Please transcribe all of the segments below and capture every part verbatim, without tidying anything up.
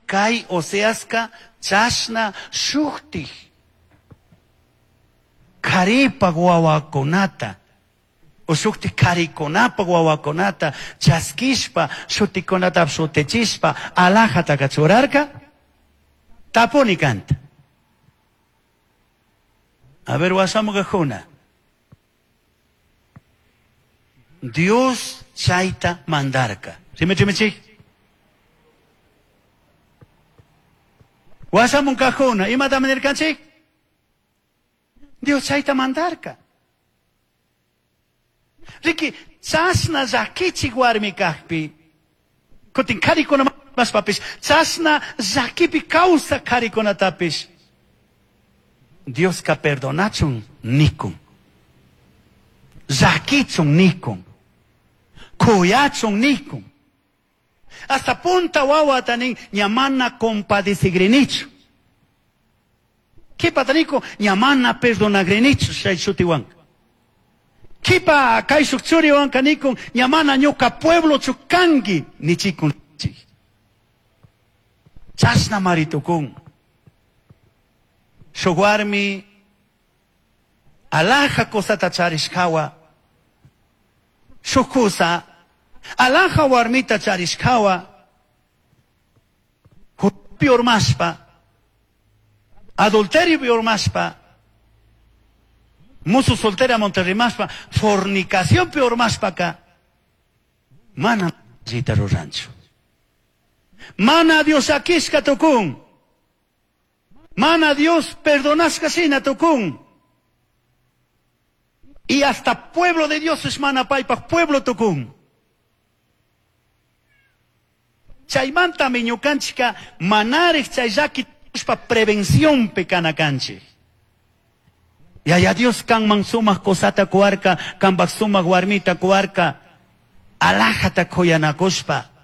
Kay Oseaska chashna shuktik karipak wawakunata o shuktik karikunapa wawakunata chaskishpa shutikunata shutichishpa alajataka churarka? Tapuni kanta. A ver, wasamukajuna. Dios chayta mandarka. Rimichimichik. Wasamunkajuna, imata manirkanchik? Dios chayta mandarka. Riki, chashna llakichik warmi kajpi, kutin karikuna mashpapish, chashna llakipi kawsak karikunatapish, Dioska perdonachun nikun, llakichun nikun, kuyachun nikun. Hasta punta wawata nin, ña mana compadecigrinichu. Kipata nikun, ña mana perdonagrinichu chay shutiwanka. Kipa kayshuk churiwanka nikun, ña mana ñuka pueblochu kanki nichikun. Chashna maritukun. Shuk warmi alaja kusata charishkawa, shuk kusa alaja warmita charishkawa, huchapi urmashpa, adulteriopi urmashpa, musu soltera monterrimashpa, fornicacionpi urmashpaka, mana allita ruranchu. Mana Dios akishka tukun. Mana Dios perdonashka shina tukun. Y hasta pueblo de Dios es mana paypaj pueblo tukun. Chaymantami ñukanchika manarik chay llaki tukushpa prevencionpi kana kanchik. Yaya Dios kanman sumak kusata kuwarka, kanpak sumak warmita kuwarka, alajata kuyanakushpa.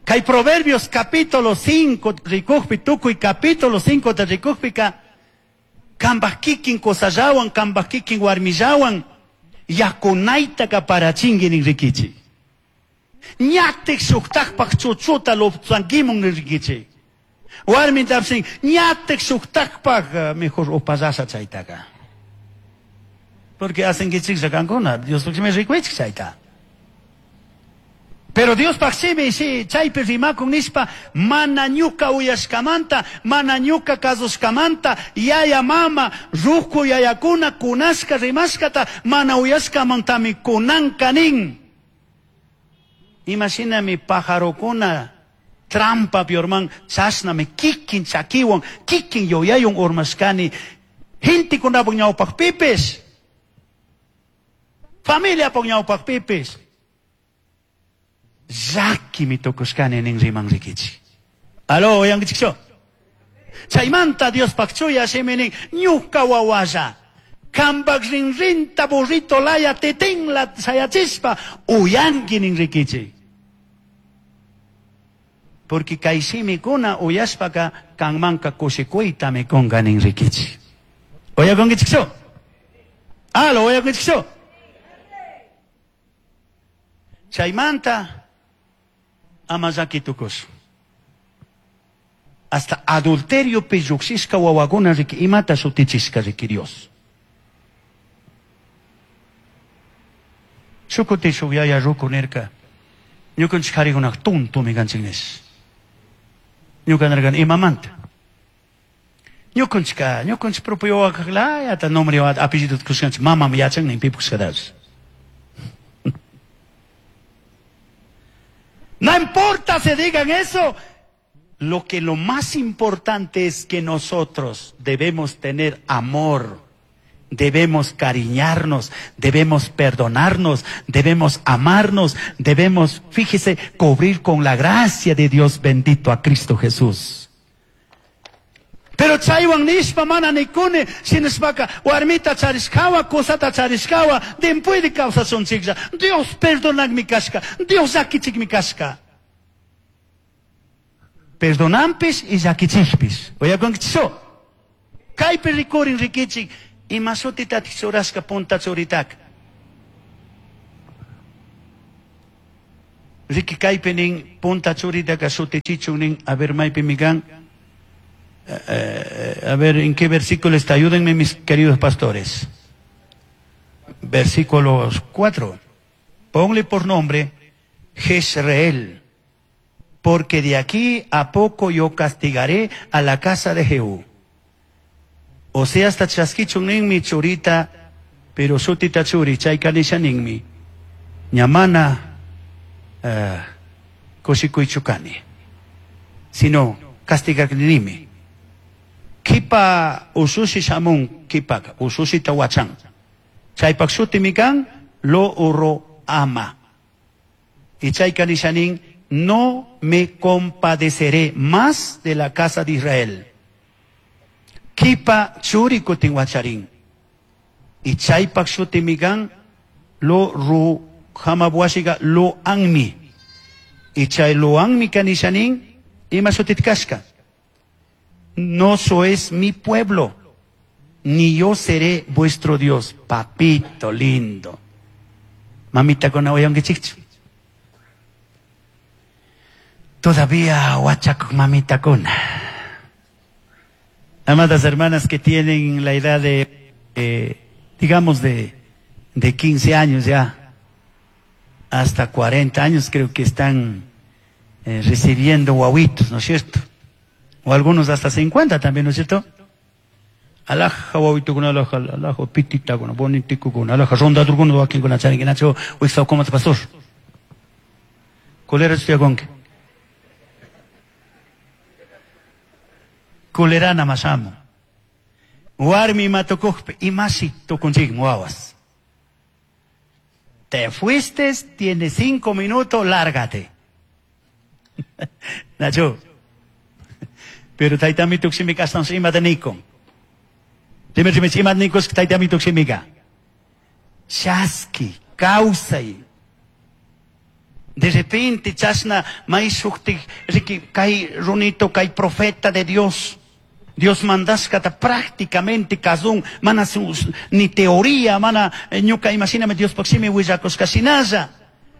Kay Proverbios capítulo cinco rikujpi, tukuy capítulo cinco ta rikujpika, kanpak kikin kusallawan, kanpak kikin warmillawan, yakunaytaka parachinki nin rikichik. Ñatik shuktakpak chuchuta luptsankimun nin rikichik. Warmin tapsin, ñatik shuktakpak, mejor upallasha chaytaka. Porque hacenkichiklla kankuna, Diospaq shimi rikuychik chayta. Pero Diospaq shimi shi chaypi rimakun nishpa, mana ñuka uyashkamanta, mana ñuka kasushkamanta, yaya mama, ruku yayakuna kunashka rimashkata, mana uyashkamantami kunanka nin. Imashinami pajarokuna trampa piorman, chashnami kikin chakiwan, kikin yuyaywan urmashkani, gentekunapaq ñawpaqpipis, familiapaq ñawpaqpipis. Llakimi tukushkani nin riman rikichik. Aló, uyankichikchu? Chaymanta Diospaq chuya shimi nin, ñuka wawalla, kanpak rinrinta burrito laya titinla shayachishpa uyanki nin rikichik. Porque kay shimikuna uyashpaka kanmanka kushikuytami kunka nin rikichik. Uyakunkichikchu? Aló, uyakunkichikchu? Chaymanta ama llaki tukushun. Hasta adulteriopi lluqshishka wawakuna riki imata shutichishka riki Dios. Shukuti shuk yaya ruku nirka, ñukanchik karikunak tuntumi kanchik nish. Ñuka nirkani imamanta. Ñukanchika, ñukanchik propio wawakaklayata nombre apellido kushkanchik, mamam yachan nin pipu kushkatash. No importa se digan eso. Lo que lo más importante es que nosotros debemos tener amor, debemos cariñarnos, debemos perdonarnos, debemos amarnos, debemos, fíjese, cubrir con la gracia de Dios bendito a Cristo Jesús. Pero chaywan nishpa mana nikuni, shinashpaka warmita charishkawa, kusata charishkawa, dimpuede kawsashunchiklla. Dios perdonakmi kashka, Dios llakichikmi kashka. Perdonanpis y llakichikpis. Uyakunkichikchu? Kaypi rikurin rikichik, ima shutitatik churashka punta churitaka. Riki kaypi nin punta churitaka shutichichun nin, a ver maypi mikan. Eh, a ver, ¿en qué versículo está? Ayúdenme mis queridos pastores. Versículos cuatro. Ponle por nombre Jezreel, porque de aquí a poco yo castigaré a la casa de Jehú. O sea, hasta chaskichun ninmi churita, pero shutita churi, chayka nisha ninmi. Ñamana uh, kushikuychukani, sino castigarnimi. Kipa usushi shamun kipaka, usushi tawachan. Chaypak shutimi kan, lo uro ama. Y chayka nishanin, no me compadeceré más de la casa de Israel. Kipa churi kutin wacharin. Y chaypak shutimi kan, lo ru hamabuashiga lo anmi. Y chay lo anmi kanishanin, ima shutit kashka. No sois mi pueblo, ni yo seré vuestro Dios. Papito lindo. Mamita con chichu. Todavía huachaco mamita con. Amadas hermanas que tienen la edad de, eh, digamos, de, de quince años ya, hasta cuarenta años creo que están eh, recibiendo guaguitos, ¿no es cierto? O algunos hasta cincuenta también, ¿no es cierto? Alaja guaguito con alaja, alaja pitita con bonitico con alaja ronda turguno wakin con charinguinacho, o como pastor. Colera estoy. Colerana masamo. Warmi matokojpe, imasi tokunchik muawas. Te fuiste, tienes cinco minutos, lárgate. Nacho. Pero taitami tuksimika astan ima de. Dime dime ima nikos taitami tuksimika. Chaski, kausai. De repente chasna maisukti riki kai runito kai profeta de Dios. Dios mandashkata prácticamente kazun, mana ni teoría, mana ñuka imagíname Dios paximi willakushkashinalla.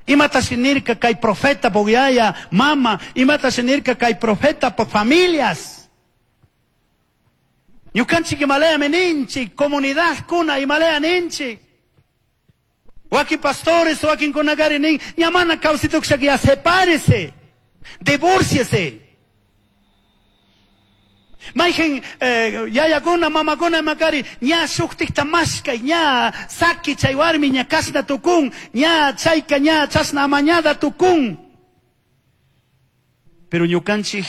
Imata shinirka kay profeta bogyaya, mama, imata shinirka kay profeta por familias. Ñukanchik imalaya meninchik, comunidad kuna imalaya ninchik. Wakin pastores, wakin kunagari nin, ñamana kawsituksha ya sepárese, divórciese. Maijen eh, yayakuna, mamakuna makari, ña shuktikta mashkay, ña saki chay warmi, ña kasna tukun, ña chayka, ña chasna amañada tukun. Pero ñukanchik,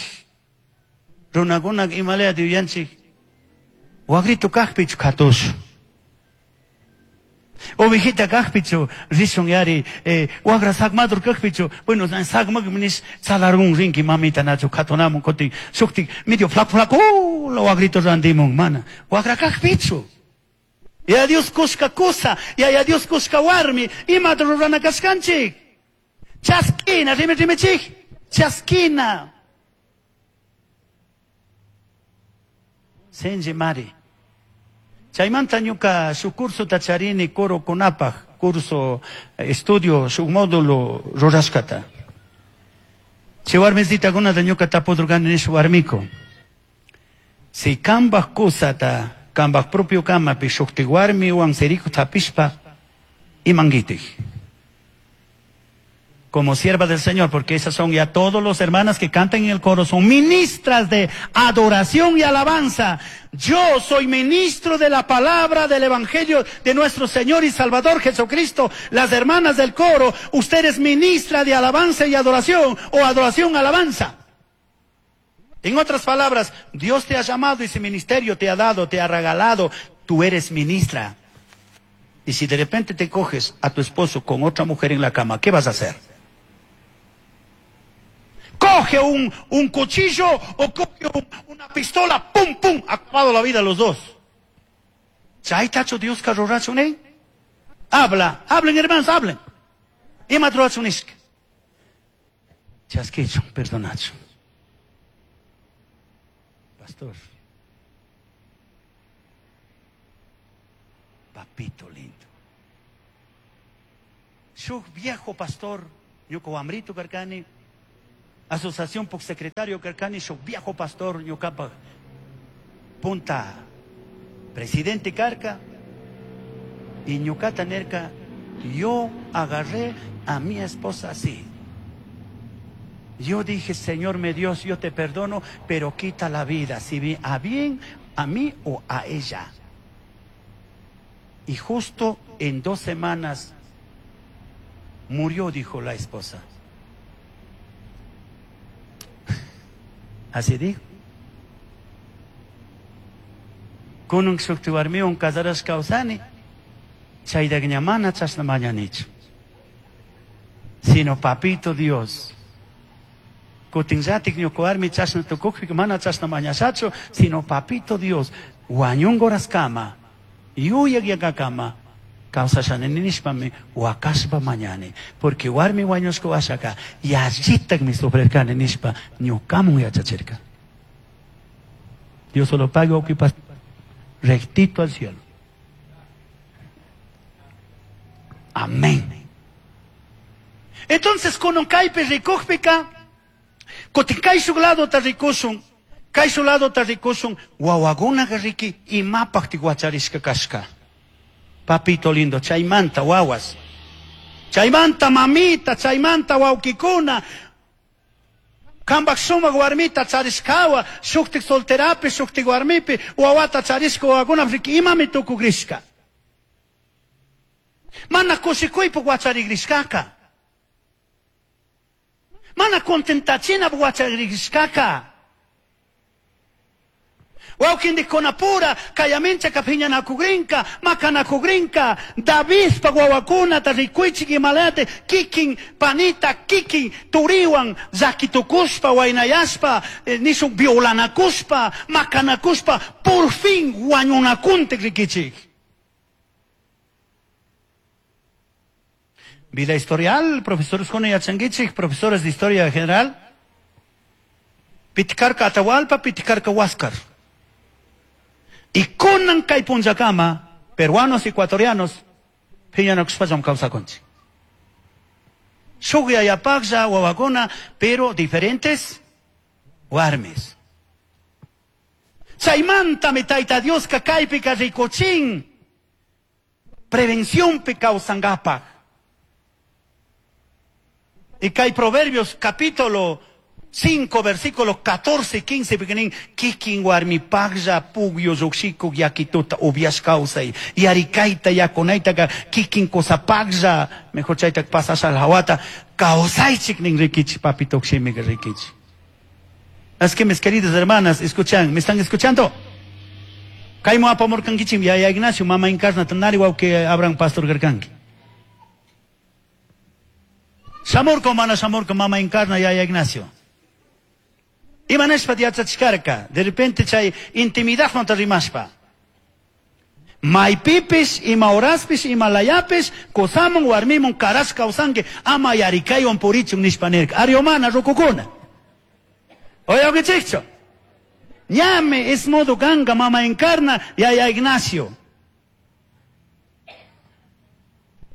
runakuna imalaya yuyanchik, wagrito kajpichu katush. Ovejita kajpichu, rishun yari, eh, wagra sakmadur kajpichu, bueno, sakmak minis salarun rinki mamita nacho katonamun kotin, shuktik, medio flaco flaco, uh, lo wagrito randimun, mana, wagra kajpichu. Ya Dios kushka kusa, ya ya Dios kushka warmi, ima rurana kashkanchik. Chaskina, rime rime chik, chaskina. Senji mari. Chaymanta ñuka su curso tacharini coro kunapaj, curso, estudio, su módulo rurashkata. Chay warmisitakunata ñuka tapudurkani nish warmiko. Si kambaj kusata, kambaj propio kamapi shukti warmiwan siriku tapishpa, imankitik. Como sierva del Señor, porque esas son ya todos los hermanas que cantan en el coro, son ministras de adoración y alabanza. Yo soy ministro de la palabra del Evangelio de nuestro Señor y Salvador Jesucristo. Las hermanas del coro, usted es ministra de alabanza y adoración, o adoración alabanza. En otras palabras, Dios te ha llamado y ese ministerio te ha dado, te ha regalado. Tú eres ministra. Y si de repente te coges a tu esposo con otra mujer en la cama, ¿qué vas a hacer? Coge un, un cuchillo o coge un, una pistola, pum, pum, acabado la vida los dos. Chaytachu Dios karurachun, Habla, hablen hermanos, hablen. Ima rurachun nishka. Chaskichun, perdonachun. Pastor. Papito lindo. Shuk viejo pastor Ñuka wambrito karkani, asociación puk secretario karkani, shuk viejo pastor ñukapaj punta presidente karka, y ñukata nerka, yo agarré a mi esposa así. Yo dije, Señor mi Dios, yo te perdono, pero quita la vida, si a bien a mí o a ella. Y justo en dos semanas murió, dijo la esposa. Así dijo. Kunun shukti warmiwan casarashka kawsani, chaytaqa ña mana chashna mañanichu. Sino papito Dios. Kutinllatik ñuka warmi chashna tukukpi mana chashna mañashachu, sino papito Dios, wañunqa horaskama, yuyaq yakakama, kawsashani nishpami wakashpa mañani. Porque warmi wañushka washaka, yallitakmi sufrirkani nishpa ñukamun yachachirka. Dios solo paga ocupa rectito al cielo. Amén. Entonces, con kaypi rikukpika, kutin kay shuk ladota rikushun, kay shuk ladota rikushun, wawakunaqa riki imapaqtik wacharishka kashka. Papito lindo, chaymanta wawas, chaymanta mamita, chaymanta wawkikuna, kambaq sumaq warmita charishkawa, shuktik solterapi, shuktik warmipi, wawata charishka wawakuna riki imami tukukrishka. Mana kushikuypuk wacharikishkaka. Mana contentachinapuk wacharikishkaka. Wawkindikkunapura kayaminchaka phiñanakukrinka, makanakukrinka, Davidpa wawakunata rikuychik imalate, kikin panita, kikin turiwan llakitukushpa, waynayashpa, eh, nishun violanakushpa, makanakushpa, por fin wañunakuntik rikichik. Vida historial, profesores kuna yachankichik, profesores de historia general. Pitkarka Atahualpa, pitkarka Huáscar. Y kunan kay punllakama, peruanos, ecuatorianos, phiñanakushpallam kawsakunchik. Shuk yayapaqlla wawakuna, pero diferentes warmis. Chaymantami Tayta Dioska kaypika rikuchin, prevencionpi kawsankapaq. Y kay Proverbios capítulo cinco, versículos catorce y quince, piquenín, kikin warmipaqlla pugyo lluqshikuk yakituta upiash kawsay, yarikayta yakunaytaqa kikin kusapaqlla, mejor chayta pasasha hawata, kawsaychik nin rikichik, papito shimiqa rikichik. Así que mis queridas hermanas, escuchan, ¿me están escuchando? Kaymu apamurkankichik, yaya Ignacio, mama Encarna, tanari wawqi Abraham pastor karkanki. Shamurka mana shamurka mama Encarna, yaya Ignacio. Imanashpa yachachkarka, de repente chay intimidadmanta rimashpa. Maypipis, ima horaspis, ima layapis, kusamun warmimun karash kawsanki, ama yarikaywan purichun nishpa nirka. Ariomana rukukuna. Oye, ñame es modo ganga, mama Encarna, yaya Ignacio.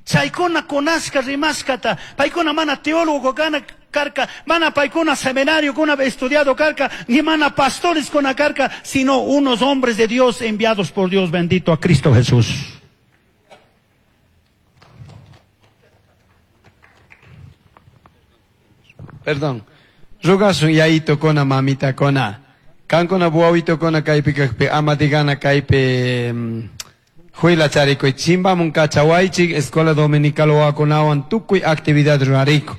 Chaykuna kunashka rimashkata, paykuna mana teólogo kana karka, mana paykuna seminario kuna estudiado karka, ni mana pastores kuna karka, sino unos hombres de Dios enviados por Dios bendito a Cristo Jesús. Perdón. Rugasun yayito kona mamita kona. Kankuna buawito kona kaypi kaqpi ama digana kaypi huila charikuy chimbamun kachawaychik escuela dominical wawakunawan tukuy actividad rurariku.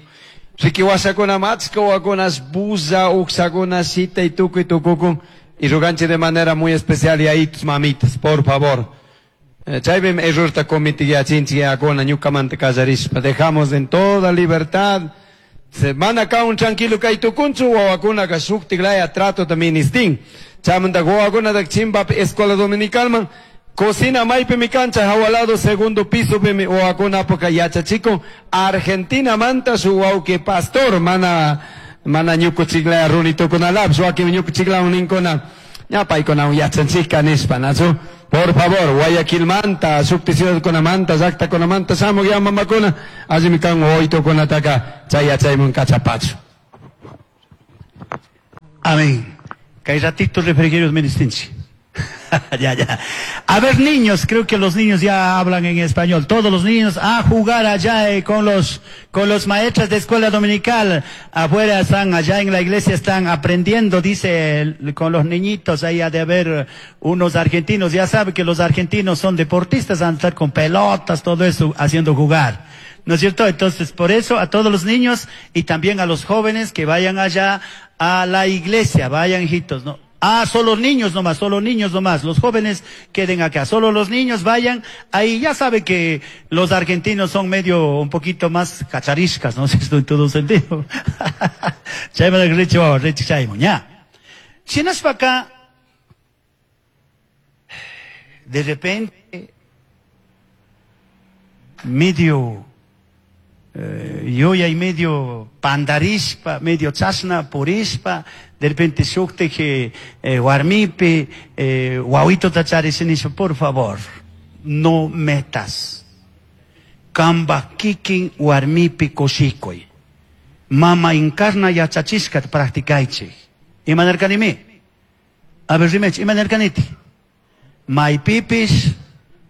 Riki wasakuna machka wawakunas buza uksakuna shitay tukuy tukukun y ruganchik de manera muy especial yayitos mamitas, por favor. Chaypim errorta comitiyachinchik yayakuna ñukamanta kallarishpa. Dejamos en toda libertad. Se van acá un tranquilo kay tukunchu wawakunaka shuktik laya trato también istin. Chamanta wawakuna da chimbapi escuela dominical man. Cocina maypi mi cancha hawalado segundo piso mi wawakuna poka yachachikun Argentina manta su wawki pastor mana mana ñukuchiklaya runitukunalapis wakin ñukuchiklawan ninkuna. Ña paykunawan yachanchikka nispa, nachu? Por favor, Guayaquilmanta, shukti ciudadkunamanta, llaqtakunamanta shamuq ya mamakuna, allimi kan wawitukunataka chay yachayman kachapachu. Amén. Kay ratito refrigerios ministinchi. Ya, ya. A ver, niños, creo que los niños ya hablan en español. Todos los niños a jugar allá eh, con los, con los maestros de escuela dominical. Afuera están, allá en la iglesia están aprendiendo, dice, el, con los niñitos. Ahí ha de haber unos argentinos. Ya sabe que los argentinos son deportistas, han de estar con pelotas, todo eso, haciendo jugar. ¿No es cierto? Entonces, por eso a todos los niños y también a los jóvenes que vayan allá a la iglesia, vayan, hijitos, ¿no? Ah, solo niños nomás, solo niños nomás. Los jóvenes queden acá. Solo los niños vayan. Ahí ya sabe que los argentinos son medio un poquito más cachariscas, ¿no? Esto en todo sentido. Shinashpa acá, de repente, medio, eh, yoya y medio pandarishpa, medio chasna purishpa, de repente shukteje, eh, warmipi, eh, wawito tacharisinicho, por favor, no metas. Kamba kikin warmipi koshikoy. Mama encarna yachachishka practicaichi. Imanerkanimi? A ver, rimech, imanerkaniti? Maipipis,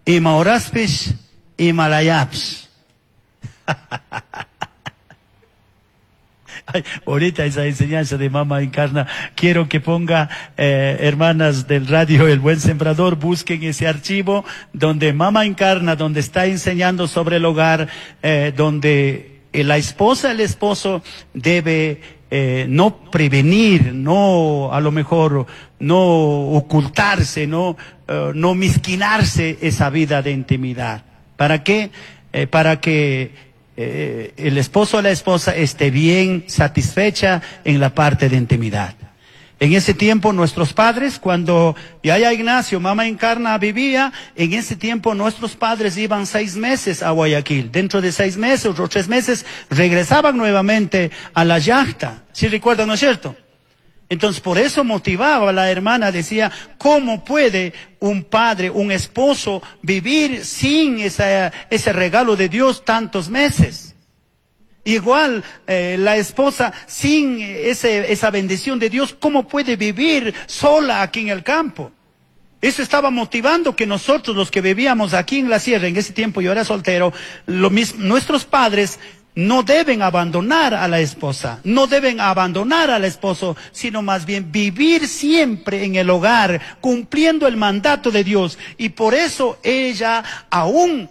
ima horaspis, imalayaps. Ay, ahorita esa enseñanza de Mama Encarna, quiero que ponga, eh, hermanas del radio El Buen Sembrador, busquen ese archivo donde Mama Encarna, donde está enseñando sobre el hogar, eh, donde la esposa, el esposo debe eh, no prevenir, no a lo mejor no ocultarse, no, eh, no mezquinarse esa vida de intimidad. ¿Para qué? Eh, para que Eh, el esposo o la esposa esté bien satisfecha en la parte de intimidad. En ese tiempo nuestros padres, cuando Yaya Ignacio, Mama Encarna vivía, en ese tiempo nuestros padres iban seis meses a Guayaquil. Dentro de seis meses o tres meses regresaban nuevamente a la llacta. ¿Sí recuerdan, no es cierto? Entonces, por eso motivaba a la hermana, decía, ¿cómo puede un padre, un esposo, vivir sin esa, ese regalo de Dios tantos meses? Igual, eh, la esposa, sin ese, esa bendición de Dios, ¿cómo puede vivir sola aquí en el campo? Eso estaba motivando que nosotros, los que vivíamos aquí en la sierra, en ese tiempo yo era soltero, lo mismo, nuestros padres no deben abandonar a la esposa, no deben abandonar al esposo, sino más bien vivir siempre en el hogar, cumpliendo el mandato de Dios. Y por eso ella, aún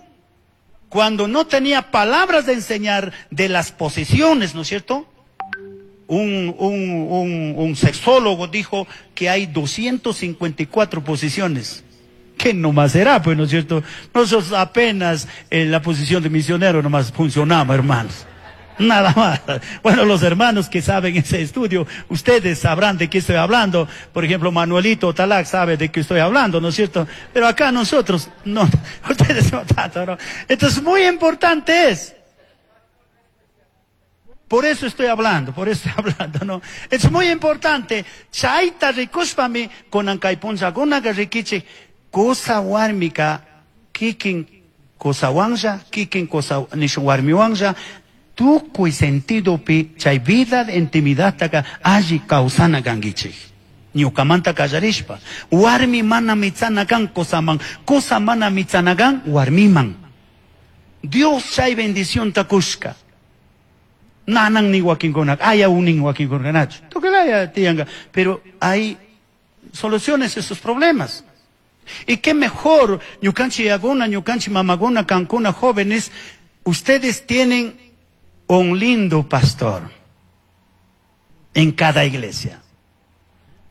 cuando no tenía palabras de enseñar de las posiciones, ¿no es cierto? Un, un, un, un sexólogo dijo que hay doscientas cincuenta y cuatro posiciones. ¿Qué nomás será, pues, no es cierto? Nosotros apenas en la posición de misionero nomás funcionamos, hermanos. Nada más. Bueno, los hermanos que saben ese estudio, ustedes sabrán de qué estoy hablando. Por ejemplo, Manuelito Talac sabe de qué estoy hablando, ¿no es cierto? Pero acá nosotros, no, ustedes no tanto, ¿no? Entonces, muy importante es. Por eso estoy hablando, por eso estoy hablando, ¿no? Es muy importante. Chaita rikushpami kunankaypunchakuna rikichik. Cosa warmika kikin cosa wanja, kikin cosa nishu warmiwanja, tukuy sentido pi chay vida de intimidad taka alli causana kankichik. Ñukamanta kallarishpa, warmi mana mitzana kan kosaman, cosa mana mitzana kan warmiman. Dios chay bendición takushka. Nanan ni wakinkuna, haya unin wakinkunanachu. Tukulaya tianga, pero hay soluciones a esos problemas. Y qué mejor, ñukanchi yaguna, ñukanchi mamaguna, cancuna, jóvenes, ustedes tienen un lindo pastor en cada iglesia.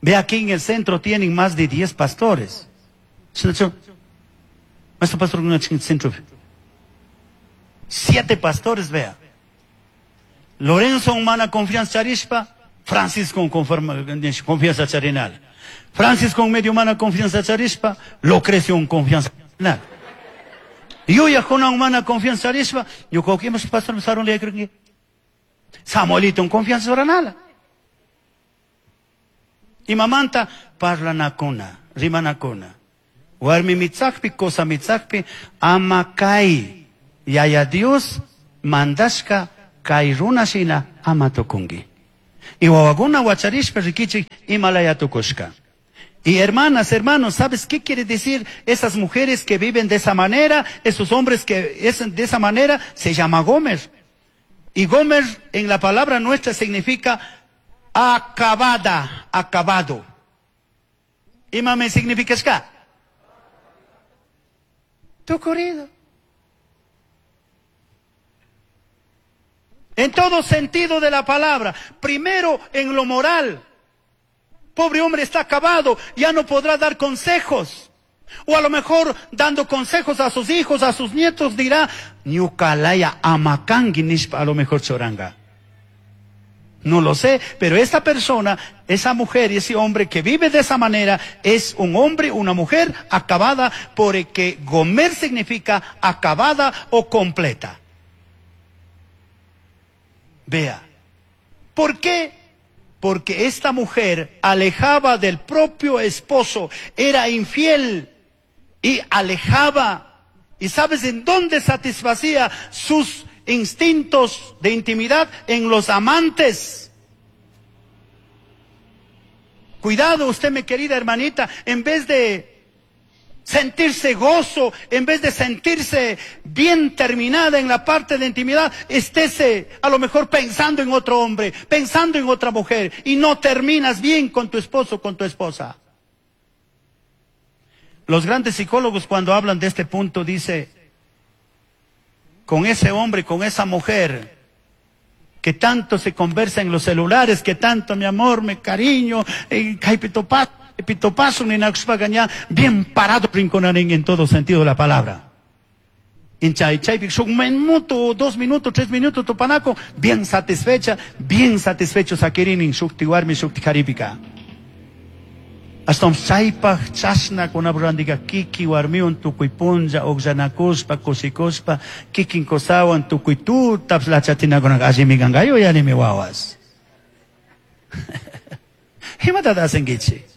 Ve aquí en el centro tienen más de diez pastores. Nuestro pastor en el centro. Siete pastores, vea. Lorenzo humana confianza charishpa, Francisco con confianza charinal. Francisco con medio humana confianza charishpa, Lucrecio con confianza charinal. Yo ya con humana confianza charishpa, yo creo que pastor me saron le creo Samuelito con confianza charinal. Imamanta parlanakuna, rimanakuna. Warmi mitzakpi, cosa mitzakpi, ama kay Yaya Dios mandashka kay runa shina ama tukunki. Y wawakuna wacharishpa rikichik imalaya tukushka. Y hermanas, hermanos, ¿sabes qué quiere decir esas mujeres que viven de esa manera? Esos hombres que es de esa manera, se llama Gomer. Y Gomer en la palabra nuestra significa acabada, acabado. ¿Imame significa ska? Tucurido. En todo sentido de la palabra. Primero en lo moral. Pobre hombre está acabado, ya no podrá dar consejos. O a lo mejor dando consejos a sus hijos, a sus nietos, dirá, ñukalaya amakangi nishpa, a lo mejor choranga. No lo sé, pero esta persona, esa mujer y ese hombre que vive de esa manera, es un hombre, una mujer acabada, porque Gomer significa acabada o completa. Vea, ¿por qué? Porque esta mujer alejaba del propio esposo, era infiel y alejaba. ¿Y sabes en dónde satisfacía sus instintos de intimidad? En los amantes. Cuidado usted, mi querida hermanita, en vez de sentirse gozo, en vez de sentirse bien terminada en la parte de intimidad, estése a lo mejor pensando en otro hombre, pensando en otra mujer, y no terminas bien con tu esposo, con tu esposa. Los grandes psicólogos cuando hablan de este punto dice, con ese hombre, con esa mujer, que tanto se conversa en los celulares, que tanto mi amor, mi cariño, eh, pitopaso, ni bien parado rinconarín en todo sentido de la palabra. En chay chay un minuto, dos minutos, tres minutos, topanaco, bien satisfecha, bien satisfecho sakirin shukti warmi shukti karipika. Hasta chaypaj chashna kunapurantika kiki warmiwan tukuy punlla uqllanakuspa kusikuspa kikin kusawan tukuy tutap lachatinakunaqa allimi kankayu yanimi wawas. Imatataq hacenkichik?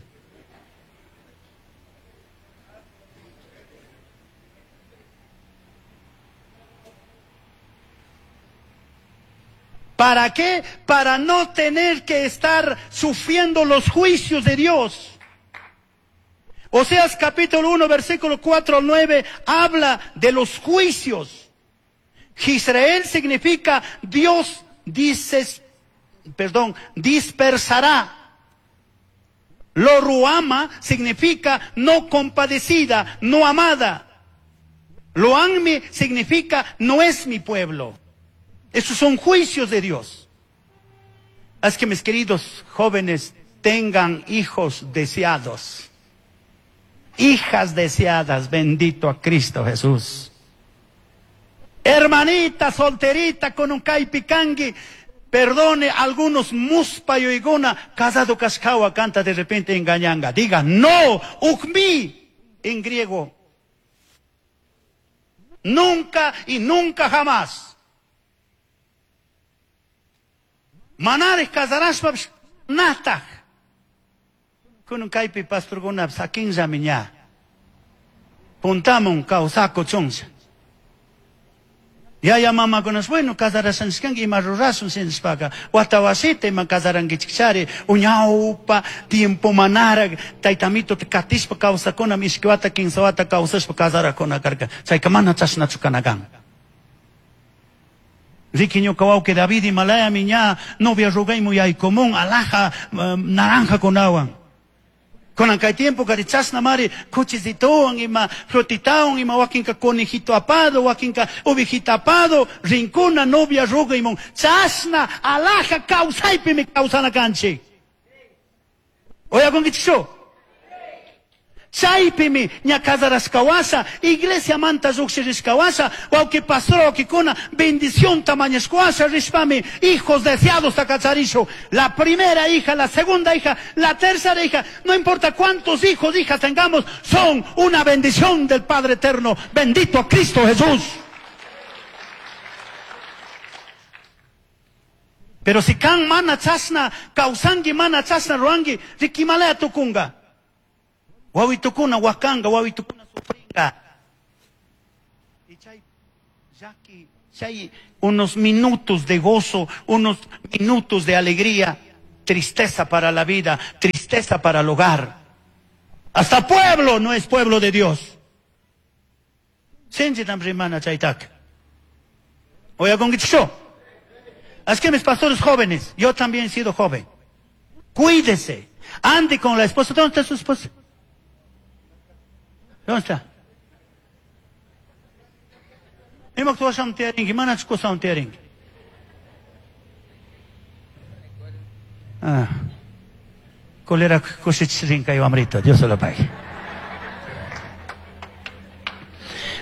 ¿Para qué? Para no tener que estar sufriendo los juicios de Dios. Oseas capítulo uno, versículo cuatro al nueve, habla de los juicios. Israel significa Dios dices, perdón, dispersará. Lo ruama significa no compadecida, no amada. Lo anmi significa no es mi pueblo. Esos son juicios de Dios. Haz que mis queridos jóvenes tengan hijos deseados. Hijas deseadas, bendito a Cristo Jesús. Hermanita solterita con un caipicangui, perdone algunos muspa y oigona, casado cascawa canta de repente engañanga. Diga, no, ukmi, en griego. Nunca y nunca jamás. Manares casaraspa nataj. Kunun kaypi pastorkuna sakinllami ña. Puntamun kawsako chunlla. Yaya mamakunas, bueno, casarashanchikkanki ima rurasun sinishpaka. Wata wasita ima casarankichikchari. Uñawpa tiempo manara taytamito katishpa kawsakuna ishki wata kinsa wata kawsashpa casarakuna karka. Chayka mana chashnachu kana kan. Riki ñuka wawqi David imalayami ña novia rugaymu yaykumun alhaja um, naranja kunawan. Kunan kay tiempo kari chashna mari kuchisituwan ima frutitawan ima wakinka conejito apado, wakinka ovejita apado, rinkuna novia rugaymun chashna alhaja kawsaypimi kawsana kanchik. Oyakunkichikchu? Chaypimi ña casarashkawasha, iglesia manta lluqshirishkawasha, wawqi pastor wawqikuna bendición mañashkawasha rishpami hijos deseados takacharishu. La primera hija, la segunda hija, la tercera hija, no importa cuántos hijos, hijas tengamos, son una bendición del Padre Eterno. Bendito a Cristo Jesús. Pero si kan mana chasna, kawsanki mana chasna ruanki, rikimalaya tukunga. Wawitukuna wakanga, wawitukuna sufringa. Y chay, yaki, chay unos minutos de gozo, unos minutos de alegría, tristeza para la vida, tristeza para el hogar. Hasta pueblo no es pueblo de Dios. Sinchi rimana chaytak. Oye, con Así que mis pastores jóvenes, yo también he sido joven. Cuídese. Ande con la esposa. ¿Dónde está su esposa? ¿Dónde está? Ah. Colera Dios se lo pague.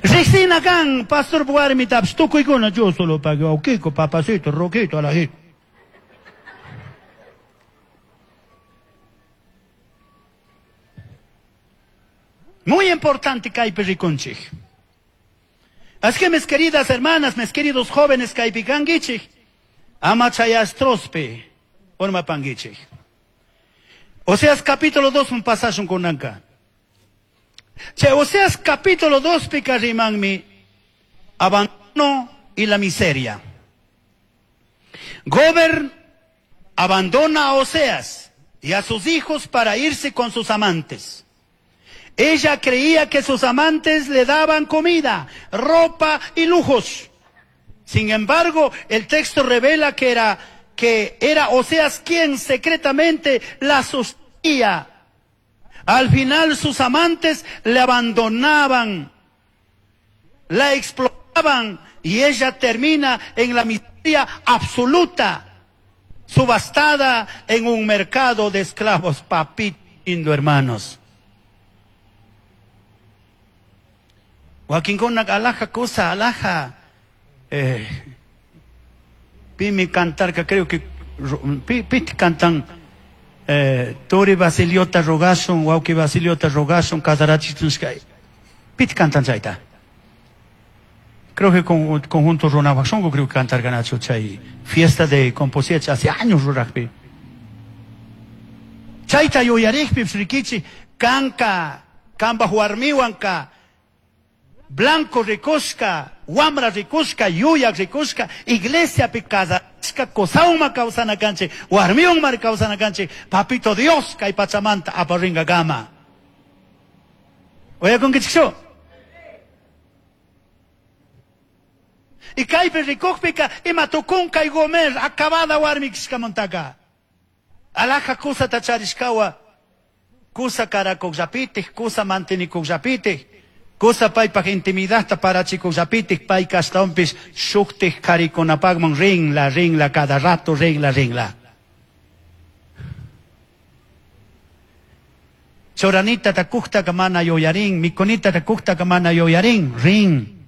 Rexina kan, pastor warmitapish tukuykuna yo solo pague, wawkiko, papacito, roquito, alajito. Muy importante kaypi rikunchik. Así que mis queridas hermanas, mis queridos jóvenes kaypi kankichik, ama chayastrospi urmapankichik. Oseas capítulo dos un pasaje kunanka. Che, Oseas capítulo dos pika rimanmi abandono y la miseria. Gomer abandona a Oseas y a sus hijos para irse con sus amantes. Ella creía que sus amantes le daban comida, ropa y lujos. Sin embargo, el texto revela que era, que era Oseas quien secretamente la sostenía. Al final sus amantes le abandonaban, la explotaban y ella termina en la miseria absoluta, subastada en un mercado de esclavos, papito lindo, hermanos. Wakinkuna alaja cosa, alaja. Eh, pimi cantar, que creo que piti cantan. Eh, Tori Basiliota rogason, Wauki Basiliota rogason, Casarachitunskay. Piti cantan chaita. Creo que con conjunto Ronabasongo creo que cantar ganacho chay. Fiesta de composición hace años rurajpi. Chaita yoyarijpi, psrikichi, kanka, kamba huarmiwanka. Blanco rikushka, wamra rikushka, yuyak rikushka, iglesia pi kazashka, kosauma kawsana kanchik, warmiwan kawsana kanchik, papito Dios kay pachamanta aparinga gama. Oyakunkichikchu? Y kaypi rikukpika ima tukun kay Gomer acabada warmi kishkamantaka. Alaja kusata charishkawa, kusa karakukllapitik, kusa mantenikukllapitik. Kusa paypaj intimidadta parachikuqllapitik pay kashtawanpis shuktik qharikunapaqman rinla, rinla, cada rato rinla, rinla. Choranita takuqtaqa mana yuyarin, mikunita takuqtaqa mana yuyarin, rin.